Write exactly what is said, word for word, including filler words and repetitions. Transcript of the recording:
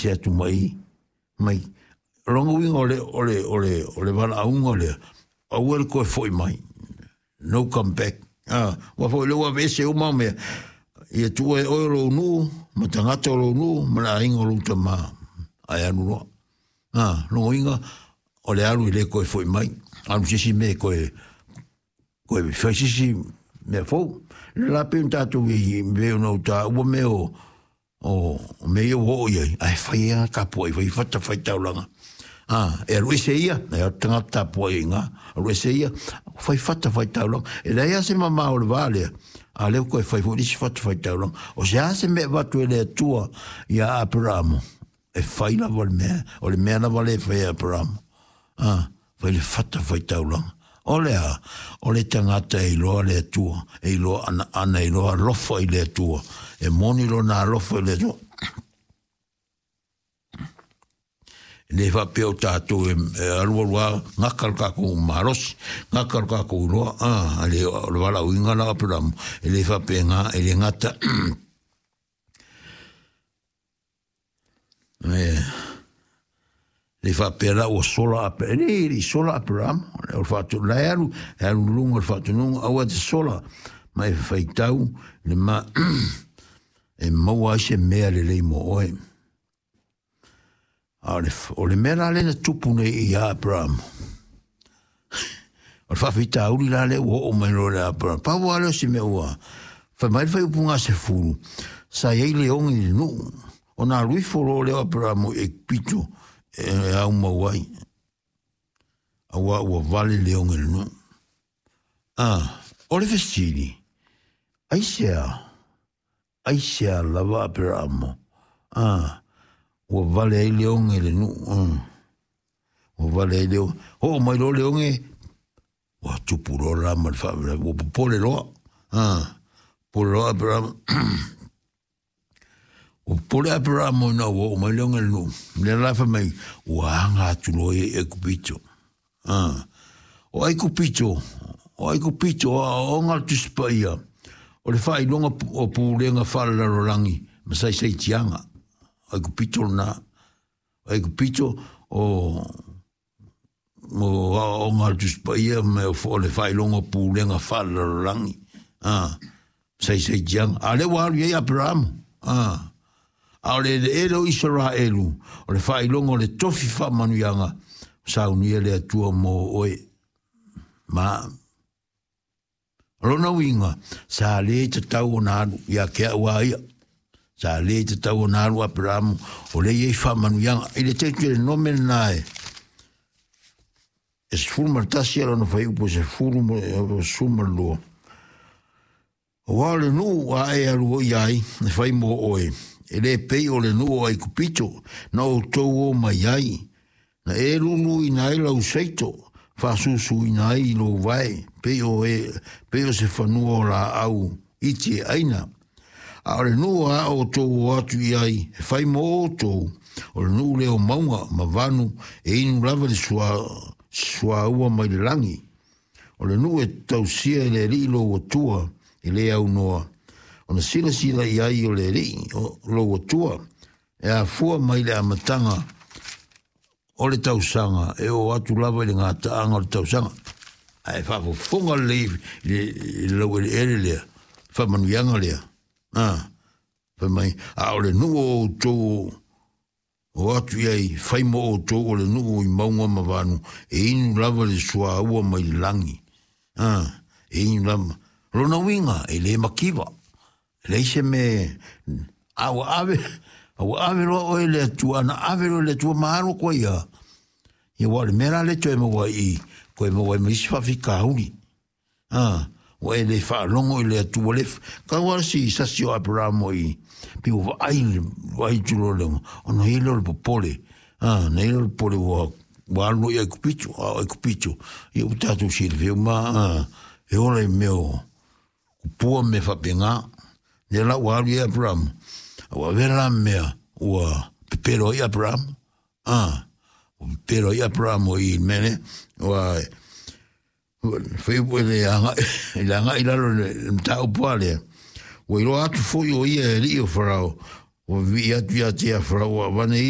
Se atu mai mai. O lona uiga o le o le o le o le valaauga lea, aua le toe fo'i mai. No come back. Ah, ua foi le ua aveese uma mea. Ia tuua e oe o lou nuu, ma tagata o lou nuu, ma le aiga o lou tamā. Ae alu loa. Ah, lona uiga, o le alu e le toe fo'i mai. Alu se isi mea e toe toe fai se isi mea fou. Le la pei ona tatou i pei ona ou taua mea o o mea ia ua oo i ai, ae fai ai tapuai, fai fata fai taulaga. A, e alu ese ia, e o tagata tapuai i ngā, alu ese ia, fai fata fai taulaga. E leai lava se mamao o le va lea, a lea ua toe fai foi le isi fata fai taulaga. O se a se mea e avatu e le Atua ia Aperamo, e fai lava le mea, o le mea lava lea e fai e Aperamo. A, fai le fata fai taulaga. O le a? O le tagata e iloa le Atua, e iloa ana, ana iloa alofa i le Atua, e moni lona alofa i le Atua. E le faapea o tatou e, e alualu lava gaka le tatou malosi, gaka le tatou iloa, a, le, o le valaauina la o Aperamo, e le faapena, e le gata, e, le faapea la ua sola Ape, e le, le sola Aperamo, o le faatu, la e alu, e alu luga o le faatunuga, aua te sola, ma e faitau, le ma, e maua ai se mea lelei mo oe. A o le, o le mea la lea na tupu nei ia Aperamo, o le faafitauli la lea ua oo mai loa le Aperamo. Pau lava lea o se mea ua fai mai le faaiupu gasefulu, sa i ai le ogi i le nuu, ona alu ifo loa lea o Aperamo i Aikupito e aumau ai, auā ua vale le ogi i le nuu. A, o le fesili, aisea? Aisea lava Aperamo? A, ua vale ai le oge i le nuu. Ua vale ai le oge. Oo mai loa le oge, ua tupu loa la ma le faalavelave, ua popole loa. A, popole loa Aperamo. Ua popole Aperamo ina ua oo mai le oge i le nuu. Lea la fai mai, ua aga atu loa ia i Aikupito. A, o Aikupito, o Aikupito, o aoaoga a le Tusi Paia, o le faailoga o pulega faalelalolagi ma saisaitiaga. O Aikupito lena. O Aikupito o o aoaoga a le Tusi Paia ma o le faailoga o pulega faalelalolagi. A, saisaitiaga. A lea ua alu i ai Aperamo. A, a o le eleele o Isaraelu, o le faailoga o le tofi faamanuiaga, saunia le Atua mo oe. Ma o lona uiga, sa le tatau ona alu ia te au a ia. Sa le tatau ona alu Aperamo, o lea e i ai faamanuiaga. I le Teuterenome lena e, e sefulu ma le tasi a lona fuaiupu e sefulu ma sefulu ma le lua. Aua o le nuu a e alu i ai, e fai mo oe, e le pei o le nuu o Aikupito, na outou o mai ai, na e luluina ai lau seito, faasusuina ai i lou vae, pei o, e, pei o se fanua o laau iti e aina. A o le nuu a outou o atu i ai, e fai mo outou, o le nuu lea o mauga ma vanu, e inu lava le sua, suaua mai le lagi. O le nuu e tausia e le Alii lou Atua, e le aunoa, ona silasila i ai o le Alii o lou Atua, e afua mai le amataga o le tausaga, e oo atu lava i le gataaga o le tausaga. Ae faafofoga lelei i le laueleele lea, faamanuiaga lea. A, fai mai, a o le nuu o outou o atu i ai, fai mo outou o le nuu i mauga ma vanu, e inu lava le suaua mai le lagi. A, e inu lava. Lona uiga, e le makiva. E leai se mea, a ua ave, a ua ave loa oe i le Atua, ana ave loa i le Atua ma alu atu ai ia. Ia, aua o le mea la lea toe maua ai i, toe maua ai ma isi faafitauli. A, ua e le faalogo i le Atua, le kau lava si sasi o Aperamo i, pei ua vaai le vaai atu loa le ona i ai lea o le popole. A, na i ai lea o le popole ua ua alu loa i Aikupito, a o Aikupito, ia ua tatou silafia uma, a, e ola i mea o kupua ma mea faapena. Lea la ua alu i ai Aperamo, a ua avea la mea ua pepelo ai Aperamo. A, ua pepelo ai Aperamo i le mea lea, ua fai le agai, le agai i lalo i le mataupu a lea. Ua iloa atu foi o ia e alii o Farao, Ua vivii atu ia te ia Farao ua avane ia.